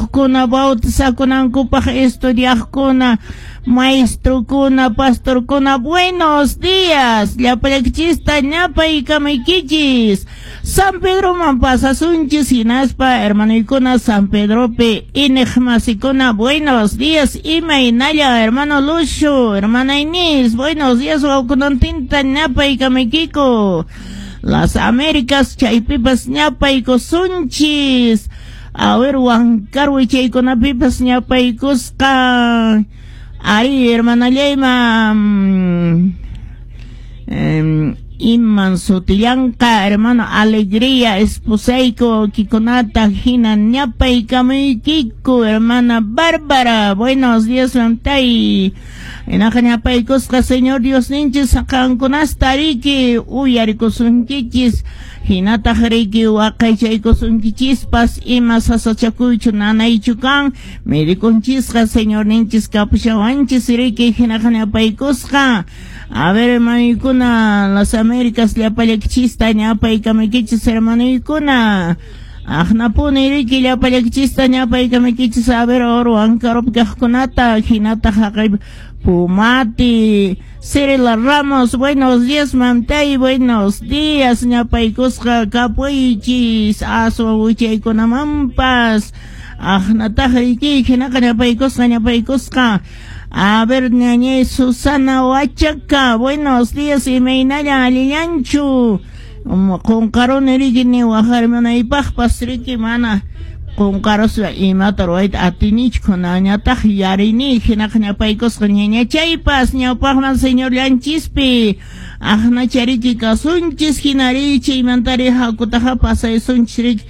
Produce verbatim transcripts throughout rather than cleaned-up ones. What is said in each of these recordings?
Yachakuqkuna, bautizakunankupaq estudiaqkuna, maestrokuna, pastorkuna, buenos días. Llapallaykichista ñapaykamaykichis. San Pedroman pasasunchis hinaspa hermanoykuna San Pedropi iñiqmasikuna, buenos días. Imaynalla, hermano Lucio, hermana Inés, buenos días, wawkunantinta ñapaykamaykiku. Las Américas chaypipas ñapaykusunchis. A ver, Huancarwi chaykunapipas ñapaykusqa. Ari, hermana Leyma, mm, em, iman sutillanqa, hermano Alegría, esposayko kikunata hina ñapaykamuykiku, hermana Bárbara, buenos días, mamtay. Hinaqa ñapaykusqa Señor Diosninchis qankunasta riki uyarikusunkichis, hinataq riki waqaychaykusunkichispas ima sasachakuychu nanaychu kan medikunchisqa Señorninchis kapushawanchis riki hinaqa ñapaykusqa. A ver, hermanoykuna, las Américas llapallaykichista ñapaykamaykichis, hermanoykuna. Aqnapuni riki llapallaykichista ñapaykamaykichis. A ver, oro Huancaropi kaqkunata hinataq haqay Pumati, Cirila Ramos, buenos días, mamtay, buenos días, ñapaykusqa kapuychis, aswan wichaykunamanpas. Aqnataq riki hinaqa ñapaykusqa ñapaykusqa. A ver, ñañay Susana Huachaca, buenos días, imaynalla, allillanchu. Qunqaruni riki ni waqarimunaypaqpas riki mana qunqaruspa imata ruwayta atinichu kunañataq yarini hinaqa ñapaykusqa ñañachaypas ñawpaqman Señorllanchispi aqnachariki kasunchis hinari chaymantari hakutaqa pasaysunchis riki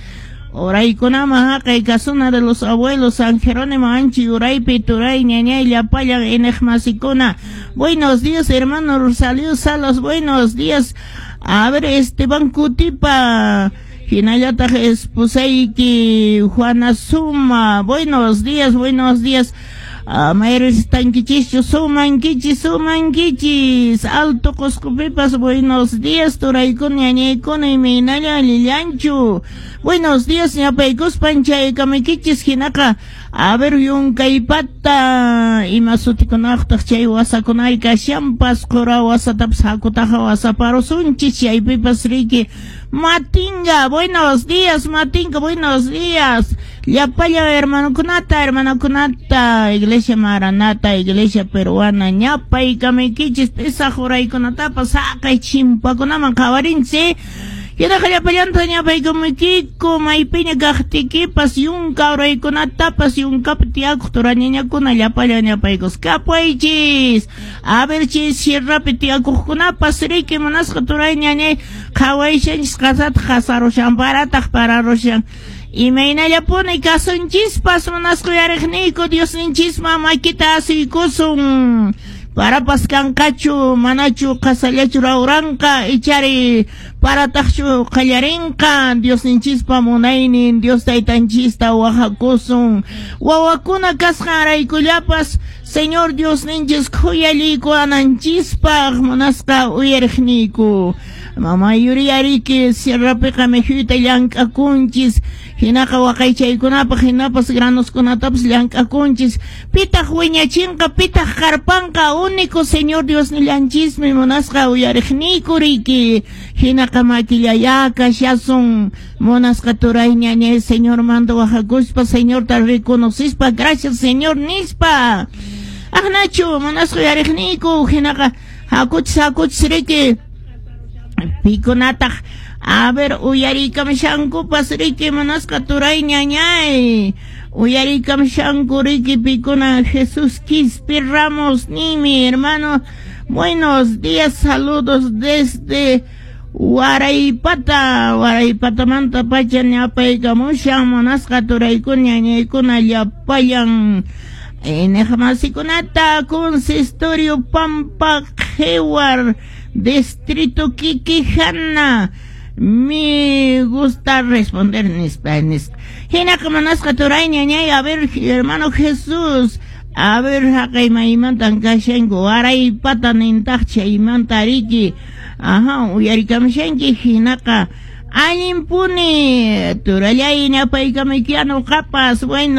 uraykunaman haqay casona de los abuelos San Jerónimo Anchi uraypi turay ñañay llapallan iñiqmasikuna. Buenos días, hermano Rosalío Salas, buenos días. A ver, Esteban Cutipa, hinallataq esposayki Juana Suma, buenos días, buenos días. Mayristankichischu sumankichis, sumankichis. Alto Qusqupipas, buenos días, turaykuna ñañaykuna, imaynalla, allillanchu. Buenos días, ñapaykuspan chaykamuykichis hinaqa. A ver, yunkaypata ima sutikunaqtaq chay wasakunay kashanpas qura wasatapas hakutaqa wasaparusunchis chaypipas riki. Matinga, buenos días, Matinga, buenos días. Llapallan hermanokunata, hermanokunata, Iglesia Maranata, Iglesia Peruana, ñapaykamaykichis pesaq uraykunatapas haqay chimpakunaman qhawarinchis. Hinaqa llapallanta ñapaykamaykiku maypiña kaqtiykipas yunka uraykunatapas yunkapi tiyakuq turañañakuna llapallan ñapaykus kapuychis. A ver chay sierrapi tiyakuqkunapas riki munasqa turay ñañay qhawayshanchis qasataq qasarushan parataq pararushan. Imaynallapuni kasunchispas munasqa uyariqniyku Diosninchisman makita asuykusun. Parapas kanqachu manachu qasallachu rawranqa ichari parataqchu qallarinqa Diosninchispa munaynin Dios taytanchista wahakusun. Wawakuna kasqanraykullapas Señor Diosninchis khuyallaykuwananchispaq munasqa uyariqniyku. Mama yuriyariki sierrapiqa mijuyta llank'akunchis hinaqa waqaychaykunapaq hinapas granoskunatapas llank'akunchis pitaq wiñachinqa pitaq qarpanqa único Señor Diosnillanchismi munasqa uyariqniyku riki hinaqa makillayá kashasun munasqa turay ñañay Señormanta wahakuspa Señorta reconocispa gracias Señor nispa. Aqnachu munasqa uyariqniyku hinaqa hakuchis hakuchis riki pikunataq a ver uyariykamushankupas riki munasqa turay ñañay uyariykamushanku riki pikuna Jesús Quispe Ramos nimi hermano, buenos días, saludos desde Waraypata, Waraypatamanta pacha ñapaykamushan munasqa turaykuna ñañaykuna llapallan iñiqmasikunata consistorio Pampa Qhiwar distrito Quiquijana. Me gusta responder nispa nispa. Hinaqa munasqa turay ñañay, a ver hermano Jesús, a ver haqay maymantan kashanku Waraypata nintaq chaymanta riki. Ajá, uyarikamushanki hinaqa allinpuni turallay ñapaykamaykianu qapas bueno.